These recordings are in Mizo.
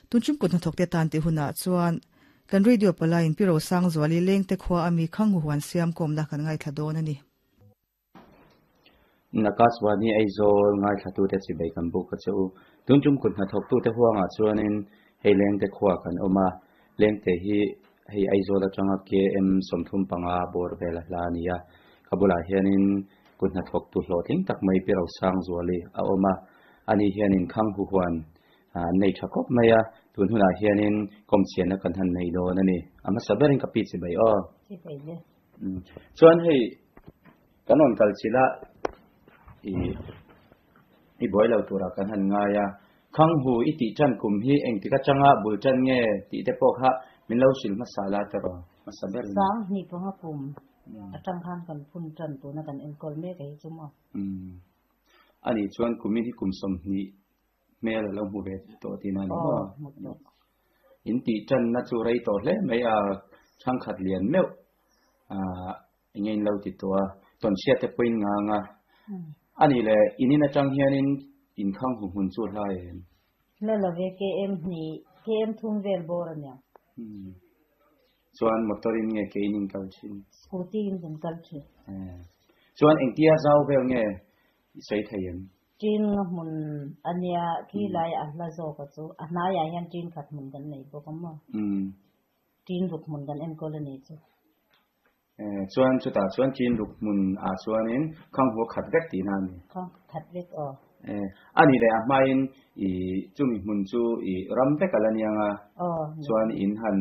Tun tum kut hnathawkte tan tih hunah chuan kan radio palaiin Pi Rosangzuali lengte khua a mi Khanghu huan siam kawmna kan ngaithla dawn a ni. Nakaswani Aizawl ngaithlatute chibai kan buk a che u. Tun tum kut hnathawktute huangah chuanin hei lengte khua kan awm a, lengte hi hei Aizawl atanga KM 35 bawr vel a hla a ni a. Ka bulah hianin kut hnathawktu hlawhtling tak mai Pi Rosangzuali a awm a, ani hianin Khanghu huan an nei tha khawp mai a, tun hunah hianin kawmchhiatna kan han nei dawn a ni. A hmasa berin ka pi chibai aw. Chibai le. Chuan hei kan rawn kal chilh a, i i buai lo turah kan han ngai a, Khanghu i tih tan kum hi engtik atanga bul tan nge tih te pawh kha min lo hrilh hmasa la ta rawh hmasa berin. Sang hnih panga kum atang khan kan phun tan tuna kan enkawl mek a hi chu maw. Ani chuan kumin hi kum 20 hmel a lo hmu ve tawh tihna a ni maw? In tih tanna chu rei tawh hle mai a, thangkhat lian meuh eng nge in lo ti tawh a, tawnchhiat te pawhin ngang a. A nih leh in in atang hianin in khang hu hmun chu hlai em? Hla lo ve, KM hnih, KM thum vel bawr a nia. Chuan motor in nge ke in in kal thin? Scooty in kan kal thin. Chuan engtia zau vel nge i sawi thei em? Tin nga hmun a nia, khi lai a hla zawk a chu a hnaiah hian tin khat hmun kan nei bawk a maw? Tin ruk hmun kan enkawl a ni chu. Chuan chutah chuan tin ruk hmun ah chuanin khang hua khat vek tihna a ni. Khang khat vek aw. A nih leh a hmain i chumi hmun chu i ram vek a la niang a, chuan in han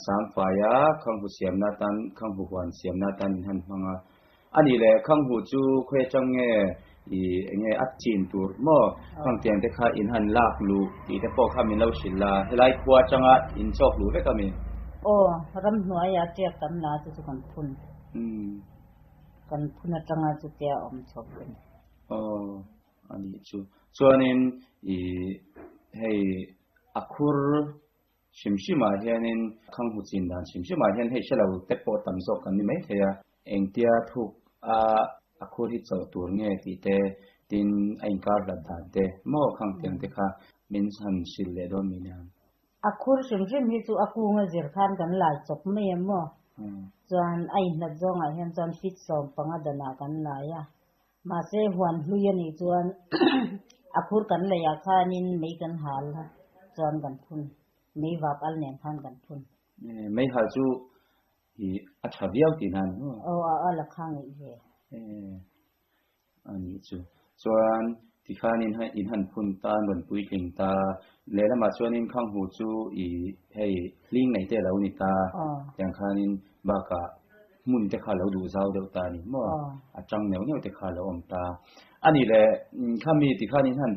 sang fai a, khang hu siamna atan, khang hu huan siamna atan in han hmang a. A nih leh khang hu chu khawi atang nge i eng nge a chin tur maw khang tiang te kha in han lak luh tih te pawh kha min lo hrilh la, helai khua atanga in chawk luh vek a mi? Aw, ramhnuaiah tiak tam la chu chu kan phun. Kan phun atanga chutia awm chho a ni. Aw, a nih chu. Chuanin i hei a khur hrim hrimah hianin khang hu chin dan hrim hrimah hian hei hre lo te pawh tam zawk kan ni maithei a. Engtia thuk a a khur hi chawh tur nge tih te, tin a inkar hlat dan te maw khang tiang te kha min han hrilh leh dawn mi nia. A khur hrim hrim hi chu a kunga zir khan kan lai chawp mai em maw? Chuan a inhlat zawngah hian chuan feet 15 danah kan lai a. Mahse huan hlui a nih chuan a khur kan leiah khanin mei kan hal a, chuan kan phun. Mei vap al nen khan kan phun. Mei hal chu i a tha viau tihna a ni maw? Aw a al a kha ngeih ve. A nih chu. Chuan tikhan in in han phun ta, an rawn puitling ta. Lehlamah chuanin Khanghu chu i hei hling nei te a lo ni ta. Tiang khanin bakah hmun te kha a lo duh zau deuh ta a ni maw? A tang neuh neuh te kha a lo awm ta. A nih leh khami tikhan in han.